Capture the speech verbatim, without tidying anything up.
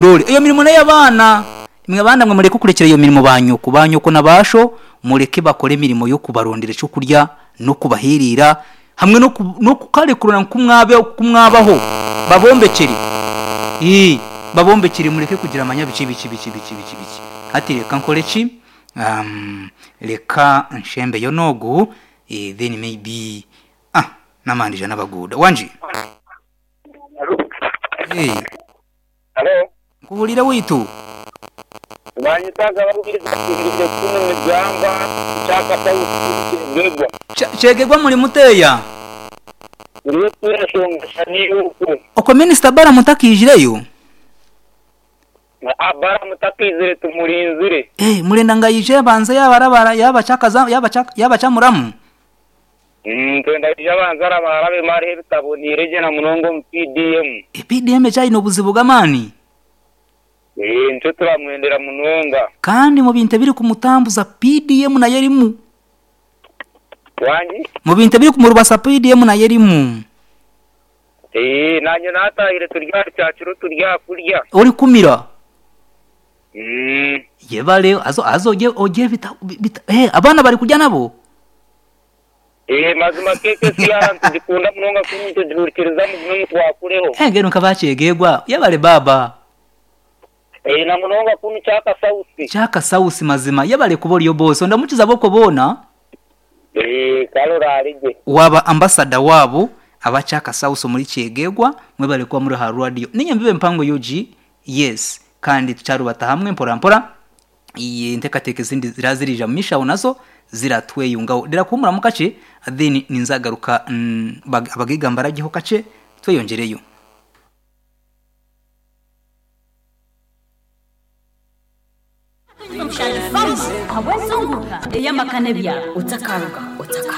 Dore iyo mirimo n'ey'abaana mwe abaana mwe mureke kurekera iyo mirimo ba nyoko ba nyoko na basho mureke bakore imirimo yo kubarondera icyo kurya no kubahirira hamwe no ku- no kukarekurana kumwabe kumwabaho babombekere eh babombekere mureke kugira amanyabici bici bici bici bici bici hati reka nkore ki um, reka nshembe yo nogu eh, then maybe ah namandija n'abaguda wanje eh Halo, nkuhurira witu banyitaga barubiriza kuno migamba chaka sauti chegegwa muri muteya uriyo turashonga ni uku uko minisita bara mutakijireyo abara mutakizire tumurinzire eh murenda ngayije banza yabarabara yabacakaza yabacaka yabacamuramu mm twenda yabanza arabarabe mari ebitabo nireje na munongo mu P D M e P D M cyayino obuzibu bw'amani eh nco turamwendera munonga kandi mu bintu biri kumutambuza P D M nayo erimu wangi mu bintu biri kumurubasa P D M nayo erimu eh nanye natahire turya cyaciro turya kurya uri kumira mm yebale azo azo oje oje bita, bita eh abana bari kurya nabo eh mazima keke siyara ntidikunda munonga kunu tudurikiriza mu munonga twakureho eh ngeno kabachegegwa yebale baba eh na munonga kunu chaka sauti chaka sausi mazima yebale kubori yo boss ndamukiza boko bona eh kalora arije waba ambasada wabo abachaka sauso muri kyegegwa mwebale kuba muri ha radio ninye mbibe mpango U G yes kandi tucarubata hamwe mpora mpora iye ntekateke zindi zirazirija mishawo nazo ziratweyungaho dera kumura mukace then ninzagaruka mm, bag- abagigamba ragiho kace tweyongereyo Awezunguka eyamakane byabo utakaruga utakaruga.